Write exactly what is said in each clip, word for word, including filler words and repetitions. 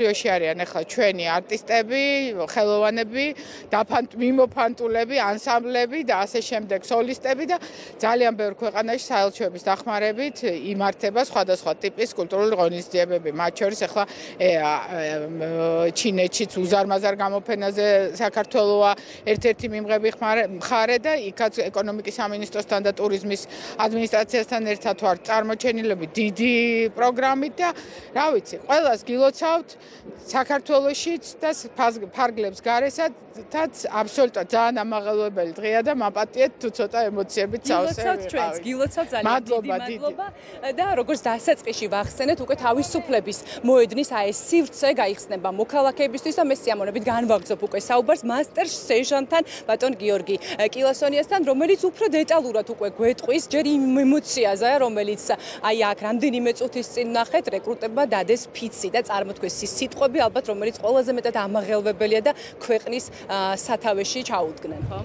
რიოში არიან ახლა ჩვენი არტისტები, ხელოვანები, მიმოფანტულები, ანსამბლები და ასე შემდეგ სოლისტები და ძალიან ბევრ ქვეყანაში საელჩოების დახმარებით იმართება სხვადასხვა ტიპის კულტურული ღონისძიებები. მათ შორის ახლა ჩინეთშიც უზარმაზარ გამოფენაზე საქართველოა ერთ-ერთი მიმღები მხარე და იქაც ეკონომიკის სამინისტროსთან და ტურიზმის ადმინისტრაციასთან ერთად ვარ წარმოჩენილები დიდი პროგრამით და რა ვიცი, ყველას გილოცავთ საქართველოშიც და ფარგლებს გარესაც აბსოლუტურად ძალიან ამაღელვებელი დღეა და მაპატიეთ თუ ცოტა ემოციებით სავსე გილოცავთ ჩვენს, გილოცავთ ძალიან დიდი მადლობა და როგორც დასაწყისში ვახსენეთ, უკვე თავისუფლების მოედნის აი ეს სივრცე გაიხსნება მოქალაქეებისთვის და მე სიამოვნებით განვაგრძობ უკვე საუბარს მასტერ სერჟანტთან ბატონ გიორგი კილოსონიასთან, რომელიც უფრო დეტალურად უკვე გვეტყვის ჯერ იმ ემოციაზე, რომელიც აი აქ რამდენიმე წუთის წინ ნახეთ, რეკრუტებმა დადეს ფიცი და წარმოთქვეს ის სიტყვები, ალბათ რომელიც ყველაზე მეტად ამაღელვებელია და ქვეყნის სათავეში ჩაუდგნენ, ხო?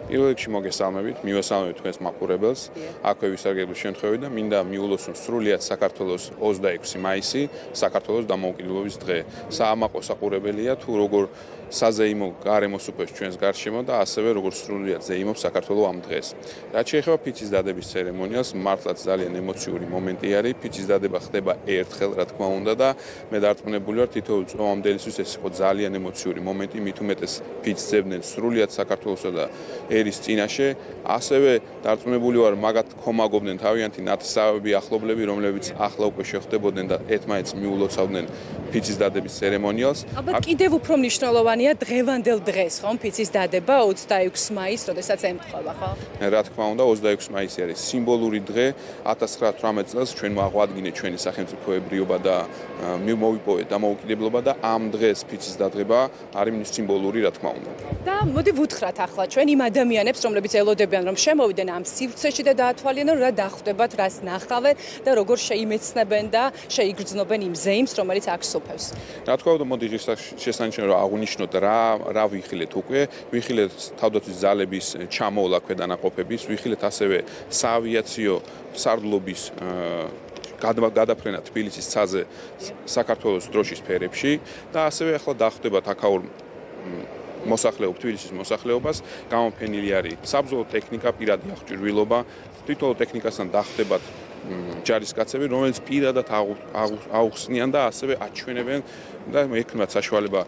პირველ რიგში მოგესალმებით, მივესალმებით თქვენს მაყურებელს. აქვე ვისარგებლო შემთხვევით და მინდა მიულოცნო სრულიად საქართველოს ოცდაექვსი მაისი, საქართველოს დამოუკიდებლობის დღე. საამაყო საყურებელია თუ როგორ საზეიმო გარემოს უყვებს ჩვენს გარშემო და ასევე როგორ სრულიად ზეიმობს საქართველოს ამ დღეს. რაც შეეხება ფიცის დადების ცერემონიალს, მართლაც ძალიან ემოციური მომენტი არის. ფიცის დადება ხდება ერთხელ, რა თქმა უნდა და მე დარწმუნებული ვარ, თითოეულ წვომამდელისთვის ეს იყო ძალიან ემოციური მომენტი, მით უმეტეს ფიცს ძებდნენ სრულიად საქართველოსა და ერის წინაშე, ასევე დარწმუნებული ვარ, მაგათ ხომაგობდნენ თავიანთი ნათესავები, ახლობლები, რომლებიც ახლა უკვე შეხვდებოდნენ და ერთმანეთს მიულოცავდნენ ფიცის დადების ცერემონიალს. ალბათ კიდევ უფრო მნიშვნელოვანია დღევანდელ დღეს, ხო, ფიცის დადება ოცდაექვსი მაისს, როდესაც ემთხვევა, ხო? რა თქმა უნდა, ოცდაექვსი მაისი არის სიმბოლური დღე. ათას ცხრაათასი წელს ჩვენ მოაღვადგინეთ ჩვენი სახელმწიფოებრიობა და მოვიპოვეთ დამოუკიდებლობა და ამ დღეს ფიცის დადება არის სიმბოლური, რა თქმა უნდა. და მოდი ვუთხრათ ახლა ჩვენ იმ ადამიანებს, რომლებიც ელოდებიან, რომ შემოვიდნენ ამ სივრცეში და დაათვალიერონ, რა დახვდებათ, რას ნახავენ და როგორ შეიმეცნებენ და შეიგრძნობენ იმ ზეიმს, რომელიც აქ სოფევს. რა თქმა უნდა, მოდი შესანიშნავად აღვნიშნოთ რა რა ვიხილეთ უკვე, ვიხილეთ თავდაცვის ძალების ჩამოვლა ქვედანაყოფების, ვიხილეთ ასევე საავიაციო სარდლობის გადაფრენა თბილისის ცაზე საქართველოს დროშის ფერებში და ასევე ახლა დახვდებათ აქაურ მოსახლეობ თბილისის მოსახლეობას, გამოფენილი არის საბრძოლო ტექნიკა, პირადი აღჭურვილობა, თვითონ ტექნიკასთან დახვდებათ ჯარისკაცები, რომელიც პირადად აუხსნიან და ასევე აჩვენებენ და ექნათ საშუალება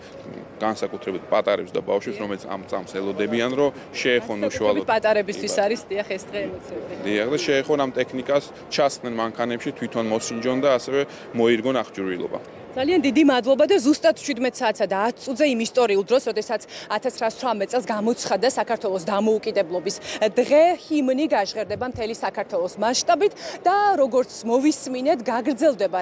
განსაკუთრებით პატარებს და ბავშვებს, რომელიც ამ წამს ელოდებიან, რომ შეეხონ უშუალოდ პატარებისთვის არის დიახ ეს დღე ემოციები. დიახ და შეეხონ ამ ტექნიკას, ჩასხდნენ მანქანებში, თვითონ მოსინჯონ და ასევე მოირგონ აღჭურვილობა. ძალიან დიდი მადლობა და ზუსტად შვიდმეტ საათსა და ათი წუთზე იმ ისტორიულ დროს, როდესაც ათას ცხრაასი წელს გამოცხადდა საქართველოს დამოუკიდებლობის დღე, ჰიმნი გაჟღერდება მთელი საქართველოს მასშტაბით და როგორც მოვისმინეთ, გაგრძელდება